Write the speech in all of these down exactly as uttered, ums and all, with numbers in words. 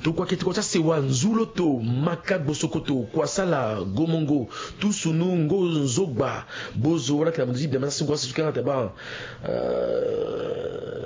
Tokua ke tokua ti asewa nzuloto, maka gbosokoto, kuasala, gomongo, tusunu, ngo, nzogba, bozo, wala ke na mundu ti bembe na singo asewa ti kanga te ba.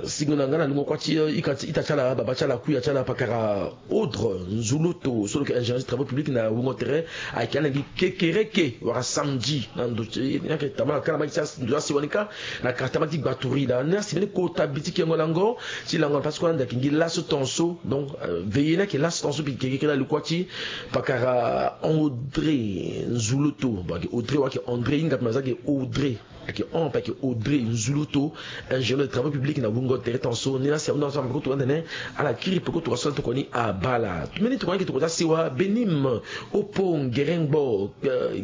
Singo na nga na lungo kua ti ita ti ala, baba ti ala, kuya ti ala, pakara Audre Nzuloto, so lo yeke ingénieur ti travaux publics na wungo tere, ayeke ala ngi kekereke wala samedi na ndo ti ni ayeke tama na kala ma ti ndo ti asewa ni kâ. Na kata ma ti gbaturi da ni asi mbeni kota bi ti kengo lango ti lango na place kue na ndaki ngi laso tonso. Donc veillez ni ayeke laso tonso mbi yeke keke na likua ti pakara André Nzuloto. Bon ayeke Audrey wala ayeke André hinga mbi aza ayeke Audrey. Ayeke hon mpe ayeke Audrey Nzuloto, ingénieur de travaux publics na wungo tere tonso. Ni la si ahunda so na peko tokua ni atene ala kiri peko tokua so na tokua ni abala. Mbeni tokua ni ayeke tokua ti asewa Benim, Opo, Ngerengbo,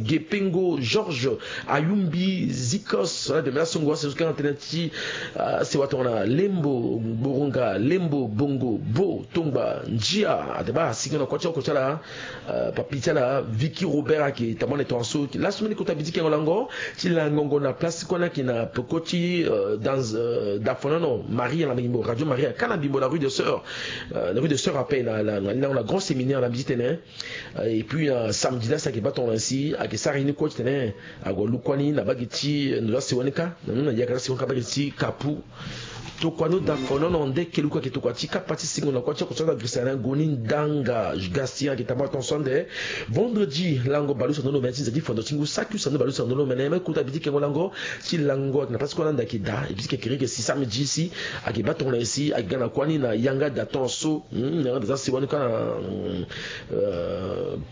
Gepengo, Georges, Ayumbi, Zikos, ala bembe na songo asewa so kanga tënë ti asewa tongana Lembo, Gboronga, Lembo, Bongo, Bo, Tongba, Ndia, ate baa asingo na kua ti oko ti ala, papi ti ala Vicky Robert ayeke tambane tongaso. Laso mbeni kota bi ti kengo lango ti langongo na place ti kue ni ayeke na peko ti dans dafonono Maria na bimbo Radio Maria kâ na bimbo la rue de Sœur, la rue de Sœur ape na lango na grand séminaire na mbi ti tene. Et puis samedi la si ayeke baa tongana si ayeke sara ye ni kue ti tene ague alu kua ni na bage ti ndo ti asewa ni kâ na ni na yaka ti asewa ni kâ bage ti kapu. Tokua ni odafonono nde keluku ayeke tokua ti kapa ti singo na kua ti oko ti ala girisa na goni ndanga gasi ayeke tamba tonso ande. Vendredi lango baleuse na ndo lo mene ti nze ti fondo ti ngu saki use na ndo baleuse na ndo lo mene me kota bi ti kengo lango ti lango ayeke na place ti kue na ande ayeke daa e bi ti kekereke si samedi si ayeke baa tongana si ayeke ga na kua ni na yanga da tonso. Yanga da ti asewa ni kâ na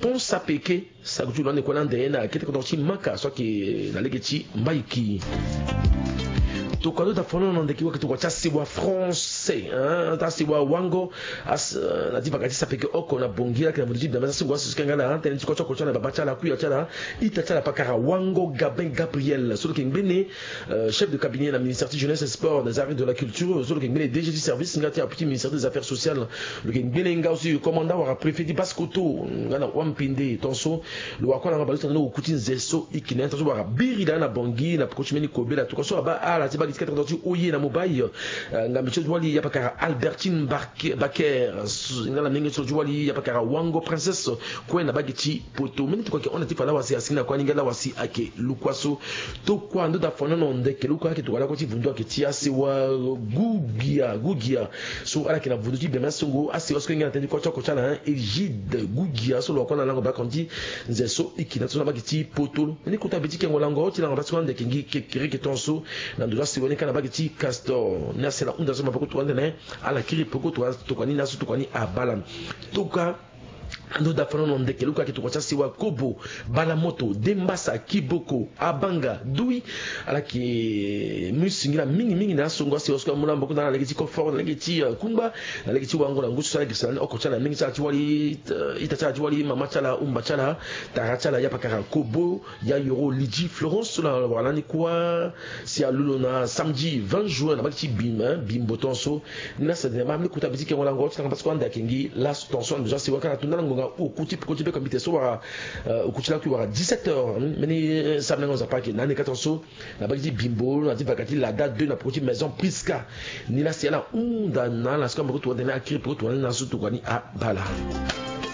pont sapeke. Sagu ti lo ande kue na ande na kete kodro ti maka so ayeke na lege ti mbaiki. Tokua ndo dafonono na ndeke wake tokua ti asewa français ti asewa wango. Na ti vaka ti sapeke oko na bongi ayeke na moto ti bembe ti asengo aso ti kanga na tënë ti kua ti oko ti ala baba ti ala kuya ti ala ita ti ala pakara wango Gabin Gabriel so lo yeke ngbene chef de cabinet na ministère ti jeunesse et sport des arts et de la culture so lo yeke ngbene D G ti service nga ti apu ti ministère des affaires sociales. Lo yeke ngbene nga aussi commandant wala préfet ti basse koto nga na wampinde tonso. Lo wara kue na nga baleuse na ni oku ti nze so e yeke na ni tonso wara biri daa na bongi na peko ti mbeni kobela tokua so abaa ala ti bage ti kete ti oye na mobai. Ngambe ti lo ti wali ya pakara Albertine Baker nga na menge ti lo ti wali ya pakara wango princesse kue na bage ti poto mbeni tokua ayeke hon na ti fa lawasi asi na kue aninga lawasi ayeke lukua so. Tokua ndo dafonono ndeke lukua ayeke tokua lakue ti vundu ayeke ti asewa gugia gugia so ala yeke na vundu ti bembe asengo asewa so kenge na tënë ti kua ti oko ti ala Egide gugia so lo wara kue na lango baleoko ti nze so e yeke na ti so na bage ti poto. Ni kota bi ti kengo lango ti lango baleoko ti kue na ndeke ngi kekereke tonso na ndo ti asewa ni kâ na bage ti castor ni asi ala hunda so maboko tokua ni tene ala kiri peko tokua ni na so tokua ni abala. Tokua ando dafonono ndeke luka ayeke tokua ti asewa kobo, balamoto, dembasa, kiboko, abanga, dui. Ala yeke mu singila mingimingi na asongo asewa so amu na maboko na ala na lege ti confort na lege ti kungba na lege ti wango na ngu so ala yeke sara ni oko ti ala mingi ti ala ti wali ita ti ala ti wali mama ti ala umba ti ala tara ti ala ya pakara kobo ya yoro lidi florence so na wara lani kua. Si alu lo na samedi vingt juin na bage ti bimbo tonso. Ni la si atene ma mbeni kota bi ti kengo lango ti tanga parce que ande ayeke ngi laso tonso ande so asewa kâ na tunda lango nga oku ti peko ti beko mbi te so wara oku ti lakui wara dix-sept heures mbeni samedi lango nzapa ayeke na ande kâ tonso. Na bage ti bimbo na ti vaka ti lada deux na peko ti maison prisca. Ni la si ala hunda na ala so kâ moko tokua ni tene akiri peko tokua ni na so tokua ni abala.